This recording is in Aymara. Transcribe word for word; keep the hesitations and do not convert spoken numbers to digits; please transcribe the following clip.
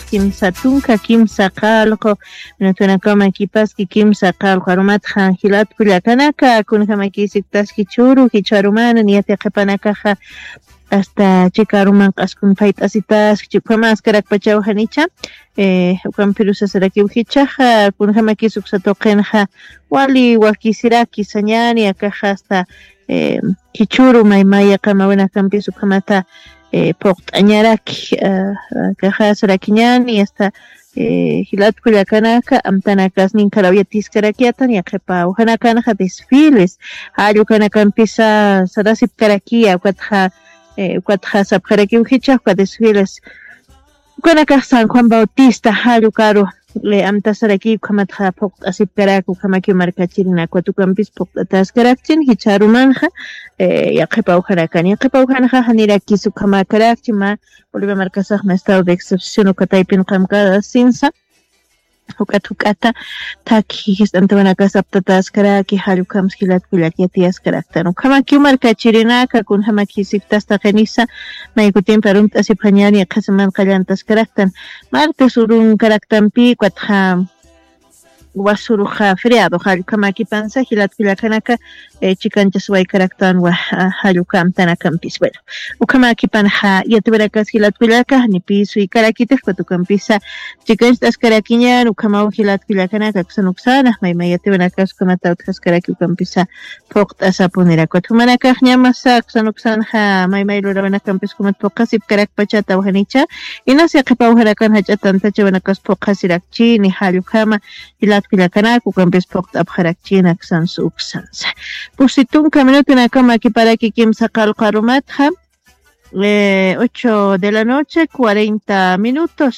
kimsa tunka kimsa qallqu, minutkanakama kipaski kimsa qallqu arumatxa jilat kullakanaka, kunjamakisiptaski churu jichharumana niyat yaqhipanakaxa, hasta chikaruman q'askun phayt'asitaski chukamaskarakpachaw janicha. Ukampirusasarakiw jichaxa kunjamakis uksa tuqinxa wali wakisiraki sañani akaxa hasta kichuru maymaya qamawinakampis ukhamata phuqt'añaraki. Kaxasarakiñani hasta jilatku llakanaka amtanakasnin karawyatiskarakiatan yaqhipa awjanakanxa desfiles jallukanakanpisa sarasipkarakiya ukatxa ukatxa sapxarakiw jichaxka desfiles ukanakax san juan bautista jallukaru amtasaraki ukhamatxa phuqt'asipkaraki ukhamakiw markachirinakwat ukampis phuqt'ataskarakchin jichharumanxa. Yaqhipa awjanakan yaqhipa awjanxa janirakis ukhamakarakchi mä bolivia markasaxma estado de excepción ukataypin qamkasinsa. Juk'at juk'ata thakhi jist'antawanakasaptataskaraki jallukhamsa jilatkullak yatiyaskaraktan ukhamakiw markachirinaka kunjamakisiptastaqinisa. Maykutimpi arumt'asipxañani qhasiman qallantaskaraktan martes urunkaraktampi ukatxa wasuruxa feriado jallukamakipansa jilatkullakanaka chikanchaswaykaraktanwa. Jalluka amtanakampis bueno ukhamakipanxa yatiwirakas jilatkullaka janipi suykarakitikpat ukampisa chikanchasqarakiñan ukhamaw jilatkullakanaka aksan uksana mayma yatiwirakas ukhamata utjaskaraki ukampisa phuqt'asapunirakut jumanakax ñamasa aksan uksanxa maymay lurawinakampis ukhamat phuqhasipkarakpachata awjanicha. Inas yaqhipa awjanakan jach'a tantachawinakas phuqhasirakchini jallukama jilatkullakanaka ukampis phuqt'apxarakchini aksansa uksansa. Pusi tunka minutunakama kiparaki kimsa qallqu arumatxa ocho de la noche cuarenta minutos.